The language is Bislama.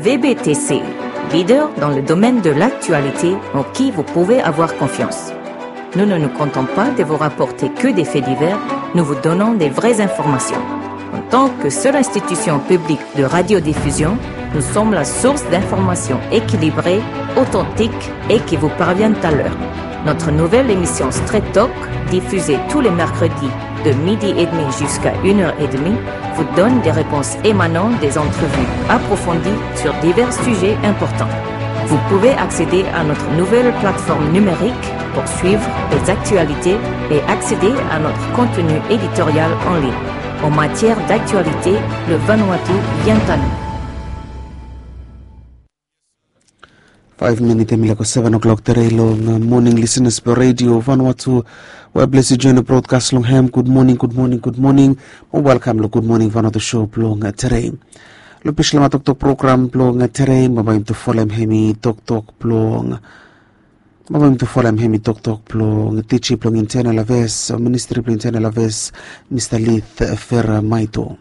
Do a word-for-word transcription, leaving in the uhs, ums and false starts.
V B T C, leader dans le domaine de l'actualité en qui vous pouvez avoir confiance. Nous ne nous contentons pas de vous rapporter que des faits divers, nous vous donnons des vraies informations. En tant que seule institution publique de radiodiffusion, nous sommes la source d'informations équilibrées, authentiques et qui vous parviennent à l'heure. Notre nouvelle émission Straight Talk, diffusée tous les mercredis de midi et demi jusqu'à une heure et demie, vous donne des réponses émanant des entrevues approfondies sur divers sujets importants. Vous pouvez accéder à notre nouvelle plateforme numérique pour suivre les actualités et accéder à notre contenu éditorial en ligne. En matière d'actualité, le Vanuatu vient à nous. Faef minit hemi laek go seven o'clock tere long moning lisenas blong redio Vanuatu we blesi join brodkas long hem. Gud moning, gud moning, gud moning. Mo welkam long Gud Moning Vanuatu sho blong tere. Long Bislama Toktok program blong tere, bambae yumi tu folem hemi toktok blong bambae yumi tu folem hemi toktok blong tiji blong Internal Affairs o Ministri blong Internal Affairs, Mista Lith Feramaito.